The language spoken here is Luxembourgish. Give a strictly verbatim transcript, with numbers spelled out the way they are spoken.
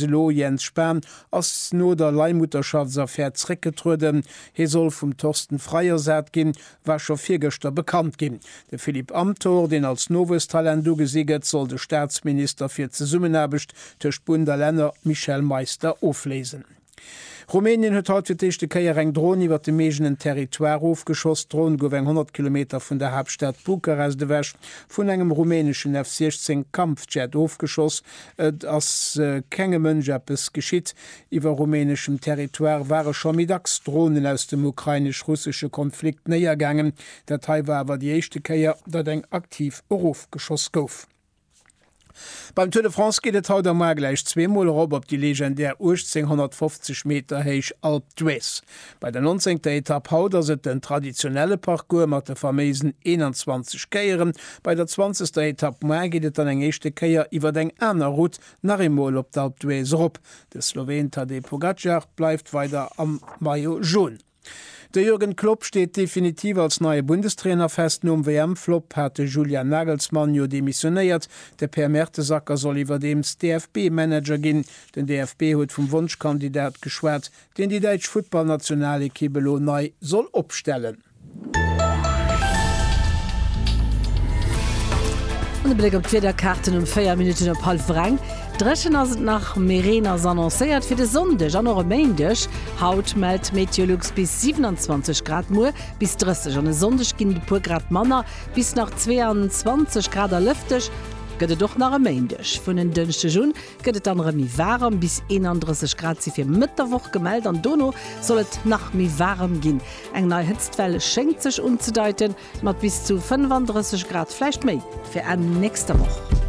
elo Jens Spahn ass no der Leihmutterschaftsaffär zréckgetrueden. Hie soll vum Thorsten Frei ersat ginn, war scho virgëschter bekannt ginn. De Philipp Amthor, deen als Nowuesstalent ugesi gëtt, soll de Staatsminister fir d'Zesummenaarbecht tëscht Bund a Länner Michel Meister ofléisen. Rumänien huet haut fir d'éischte Kéier eng Dron iwwer dem eegenen Territoire ofgeschoss. D'Dron gouf eng honnert Kilometer vun der Haaptstad Bukarest ewech vun engem rumäneschen F siechzéng Kampfjet ofgeschoss. Et ass kengem Mënsch eppes geschitt. Iwwer rumäneschem Territoire ware scho méi dacks Dronen aus dem ukrainesch-russesche Konflikt néiergaangen. Dat hei war awer déi éischte Kéier, datt eng aktiv erofgeschoss gouf. Beim Tour de France geet et haut a muar gläich zwee Mol erop op déi legendär uechtzénghonnertfofzeg Meter héich Alpe d'Huez. Bei der nonzéngter Etapp haut ass et den traditionelle Parcours mat de faméisen eenanzwanzeg Kéieren. Bei der zwanzegster Etapp muar geet et dann eng éischte Kéier iwwer eng aner Route nach eemol op d'Alpe d'Huez erop. De Sloween Tadej Pogacar bleift weider am Maillot jaune. De Jürgen Klopp steet definitiv als neie Bundestrainer fest. Nom W M-Flopp hat de Julian Nagelsmann jo demissionéiert. De Per Mertesacker soll iwwerdeems D F B-Manager ginn. Den D F B huet vum Wonschkandidat geschwat, deen déi däitsch Futtballnationalekipp elo nei soll opstellen. An e Bléck op d'Wiederkaarten um véier Minutten op hallwer eng. Dréchen ass et nach, mee Reen ass annoncéiert fir de Sonndeg an och e Méindeg. Haut mellt Meteolux bis siewenanzwanzeg Grad, muer bis drësseg an e Sonndeg ginn et e puer Grad manner, bis nach zweeanzwanzeg Grad a lëfteg gëtt et och nach e Méindeg. Vun en Dënschdeg un gëtt et dann erëm méi waarem, bis eenandrësseg Grad si fir Mëtt der Woch gemellt an dono soll et nach méi waarem ginn. Eng nei Hëtztwell schéngt sech unzedeiten, mat bis zu fënnefandrësseg Grad, vläicht méi, fir Enn nächster Woch.